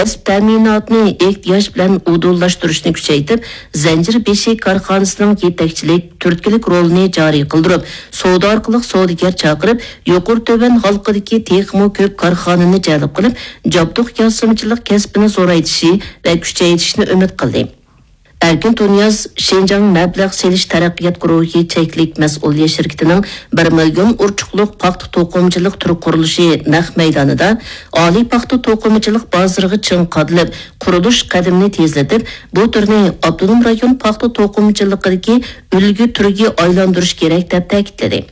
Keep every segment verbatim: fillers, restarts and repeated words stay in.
كەسىپ تەمىناتىنى ئېھتىياج بىلەن ئۇدۇللاشتۇرۇشنى كۈچەيتىپ، زەنجىر بېشى كارخانىسىنىڭ يېتەكچىلىك، تۈرتكىلىك رولىنى جارى قىلدۇرۇپ، سودا ئارقىلىق سودىگەر چاقىرىپ، يۇقىرى تۆۋەن ھالقىدىكى تېخىمۇ كۆپ كارخانىنى جەلپ قىلىپ، جابدۇق ياسىمىچىلىق كەسپىنى زورايتىشى ۋە كۈچەيتىشنى ئۈمىد قىلدى. ئەركىن تۇنىياز شىنجاڭ مەبلەغ سېلىش تەرەققىيات گۇرۇھى چەكلىك مەسئۇلىيەت شىركىتىنىڭ بىر مىليون ئۇرچۇقلۇق پاختا توقۇمىچىلىق تۈر قۇرۇلۇشى نەق مەيدانىدا ئالىي پاختا توقۇمىچىلىق بازىرىغا چىڭ قادىلىپ، قۇرۇلۇش قەدىمىنى تېزلىتىپ، بۇ تۈرنى ئاپتونوم رايون پاختا توقۇمىچىلىقىدىكى ئۈلگە تۈرگە ئايلاندۇرۇش كېرەك، دەپ تەكىتلىدى.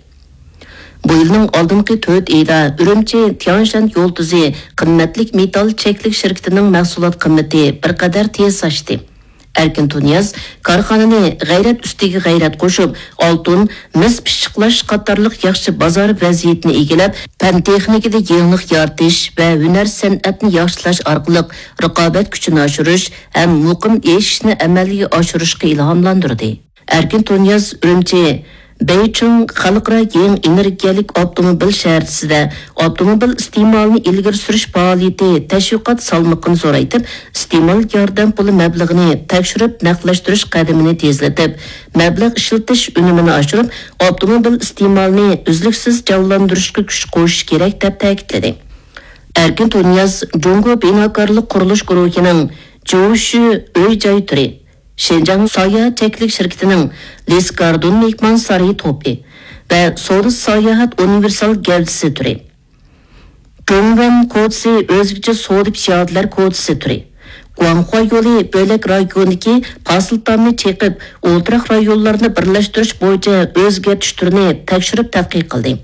بۇ يىلنىڭ ئالدىنقى تۆت ئېيىدا ئۈرۈمچى تيانشەن يول تۈزى قىممەتلىك مېتال چەكلىك شىركىتىنىڭ مەھسۇلات قىممىتى بىر قەدەر تېز ئاشتى. ئەركىن تۇنىياز كارخانىنى غەيرەت ئۈستىگە غەيرەت قوشۇپ، ئالتۇن، مىس پىششىقلاش قاتارلىق ياخشى بازار ۋەزىيىتىنى ئىگىلەپ، پەن تېخنىكىدا يېڭىلىق يارىتىش ۋە ھۈنەر سەنئەتنى ياخشىلاش ئارقىلىق رىقابەت كۈچىنى ئاشۇرۇش ھەم مۇقىم ئېشىشنى ئەمەلگە ئاشۇرۇشقا ئىلھاملاندۇردى. ئەركىن تۇنىياز ئۈرۈمچى بەيچىڭ خەلقئارا يېڭى ئېنېرگىيەلىك ئاپتوموبىل شەھەرچىسىدە ئاپتوموبىل ئىستېمالىنى ئىلگىرى سۈرۈش پائالىيىتى تەشۋىقات سالمىقىنى زورايتىپ، ئىستېمال ياردەم پۇلى مەبلىغىنى تەكشۈرۈپ نەقلەشتۈرۈش قەدىمىنى تېزلىتىپ، مەبلەغ ئىشلىتىش ئۈنۈمىنى ئاشۇرۇپ، ئاپتوموبىل ئىستېمالىنى ئۈزلۈكسىز جانلاندۇرۇشقا كۈچ قوشۇش كېرەك، دەپ تەكىتلىدى. ئەركىن تۇنىياز جۇڭگو بىناكارلىق قۇرۇلۇش گۇرۇھىنىڭ جوشۈ ئۆي جاي تۈرى، شىنجاڭ ساياھەت چەكلىك شىركىتىنىڭ لىس گاردون مېھمانسارىيى توپى ۋە سودا ساياھەت ئۇنىۋېرسال گەۋدىسى تۈرى، جۇڭۋەن كوچىسى ئۆزگىچە سودا پىيادىلەر كوچىسى تۈرى، گۇاڭخۇا يولى بۆلەك رايونىدىكى پاسىلتامنى چېقىپ، ئولتۇراق رايونلارنى بىرلەشتۈرۈش بويىچە ئۆزگەرتىش تۈرىنى تەكشۈرۈپ تەتقىق قىلدى.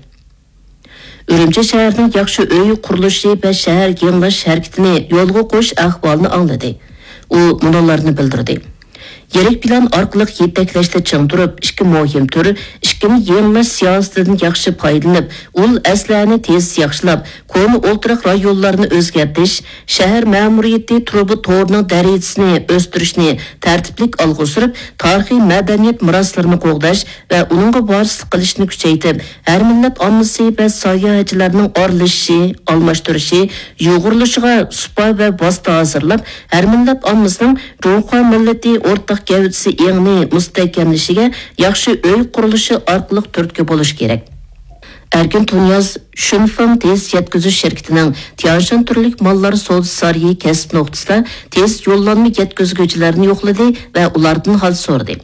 ئۈرۈمچى شەھىرىنىڭ ياخشى ئۆي قۇرۇلۇشى ۋە شەھەر يېڭىلاش ھەرىكىتىنى يولغا قويۇش ئەھۋالىنى ئاڭلىدى. ئۇ مۇنۇلارنى بىلدۈردى: يىرىك پىلان ئارقىلىق يېتەكلەشتە چىڭ تۇرۇپ، ئىككى مۇھىم تۈر، ئىككىنى يېڭىلاش سىياسىتىدىن ياخشى پايدىلىنىپ، ئۇل ئەسلىھەنى تېز ياخشىلاپ، كونا ئولتۇراق رايونلارنى ئۆزگەرتىش، شەھەر مەمۇرىيىتى تۇرۇبا تورىنىڭ دەرىجىسىنى ئۆستۈرۈشنى تەرتىپلىك ئالغا سۈرۈپ، تارىخىي مەدەنىيەت مىراسلىرىنى قوغداش ۋە ئۇنىڭغا ۋارىسلىق قىلىشنى كۈچەيتىپ، ھەر مىللەت ئاممىسى ۋە ساياھەتچىلەرنىڭ ئارىلىشىشى، ئالماشتۇرۇشى، يۇغۇرۇلۇشىغا سۇپا ۋە ۋاسىتە ھازىرلاپ، ھەر مىللەت ئاممىسىنىڭ جۇڭخۇا مىللىتى ئورتاق گەۋدىسى ئېڭىنى مۇستەھكەملىشىگە ياخشى ئۆي قۇرۇلۇشى ئارقىلىق تۈرتكە بولۇش كېرەك. ئەركىن تۇنىياز شۈنفېڭ تېز يەتكۈزۈش شىركىتىنىڭ تيانشان تۈرلۈك ماللار سودا سارىيى كەسىپ نۇقتىسىدا تېز يوللانما يەتكۈزگۈچىلەرنى يوقلىدى ۋە ئۇلاردىن ھال سورىدى.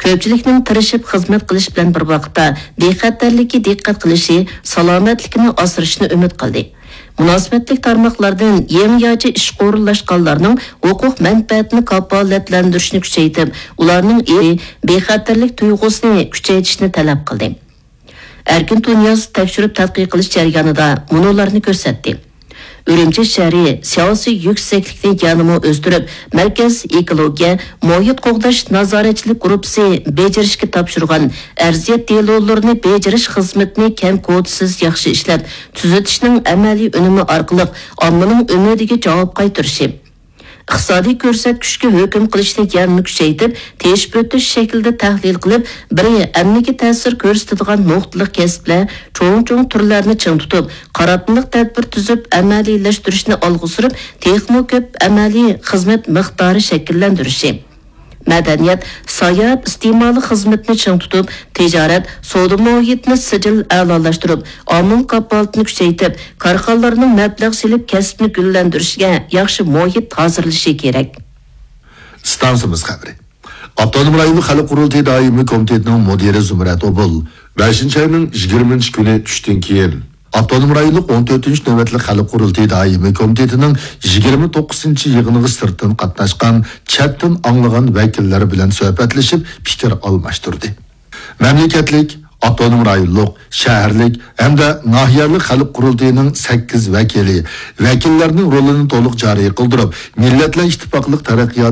كۆپچىلىكنىڭ تىرىشىپ خىزمەت قىلىش بىلەن بىر ۋاقىتتا بىخەتەرلىككە دىققەت قىلىشى، سالامەتلىكىنى ئاسرىشىنى ئۈمىد قىلدى. مۇناسىۋەتلىك تارماقلاردىن يېڭىچە ئىشقا ئورۇنلاشقانلارنىڭ ھوقۇق مەنپەئەتىنى كاپالەتلەندۈرۈشنى كۈچەيتىپ، ئۇلارنىڭ ئى-، بىخەتەرلىك تۇيغۇسىنى كۈچەيتىشنى تەلەپ قىلدى. ئەركىن تۇنىياز تەكشۈرۈپ تەتقىق قىلىش جەريانىدا مۇنۇلارنى كۆرسەتتى: ئۈرۈمچى شەھىرى سىياسىي يۈكسەكلىكنى يەنىمۇ ئۆستۈرۈپ، مەركەز ئېكولوگىيە، مۇھىت قوغداش نازارەتچىلىك گۇرۇپپىسى بېجىرىشكە تاپشۇرغان ئەرزىيەت دېلولىرىنى بېجىرىش خىزمىتىنى كەم-كوتىسىز ياخشى ئىشلەپ، تۈزىتىشنىڭ ئەمەلىي ئۈنۈمى ئارقىلىق ئاممىنىڭ ئۈمىدىگە جاۋاب قايتۇرۇشى، ئىقتىسادىي كۆرسەتكۈچكە ھۆكۈم قىلىشنى يەنىمۇ كۈچەيتىپ، تېشىپ ئۆتۈش شەكلىدە تەھلىل قىلىپ، بىر ئەمەلگە تەسىر كۆرسىتىدىغان نۇقتىلىق كەسىپلەر، چوڭ چوڭ تۈرلەرنى چىڭ تۇتۇپ، قاراتمىلىق تەدبىر تۈزۈپ ئەمەلىيلەشتۈرۈشنى ئالغا سۈرۈپ، تېخىمۇ كۆپ ئەمەلىي خىزمەت مىقدارى شەكىللەندۈرۈشى، مەدەنىيەت، ساياھەت ئىستېمالى خىزمىتىنى چىڭ تۇتۇپ، تىجارەت، سودا مۇھىتىنى سىجىل ئەلالاشتۇرۇپ، ئامىل كاپالىتىنى كۈچەيتىپ، كارخانىلارنىڭ مەبلەغ سېلىپ كەسپىنى گۈللەندۈرۈشىگە ياخشى مۇھىت ھازىرلىشى كېرەك. ئىستانسىمىز خەۋىرى. ئاپتونوم رايونلۇق خەلق قۇرۇلتىيى دائىمىي كومىتېتىنىڭ مۇدىرى زۇمرەت ئوبۇل بەشىنچى ئاينىڭ يىگىرمىنچى كۈنى چۈشتىن كېيىن، ئاپتونوم رايونلۇق ئون تۆتىنچى نۆۋەتلىك خەلق قۇرۇلتىيى دائىمىي كومىتېتىنىڭ يىگىرمە توققۇزىنچى يىغىنىغا سىرتتىن قاتناشقان، چەتتىن ئاڭلىغان ۋەكىللەر بىلەن سۆھبەتلىشىپ، پىكىر ئالماشتۇردى. مەملىكەتلىك، ئاپتونوم رايونلۇق، شەھەرلىك ھەمدە ناھىيەلىك خەلق قۇرۇلتىيىنىڭ سەككىز ۋەكىلى ۋەكىللەرنىڭ رولىنى تولۇق جارى قىلدۇرۇپ، مىللەتلەر ئىتتىپاقلىق تەرەققىيات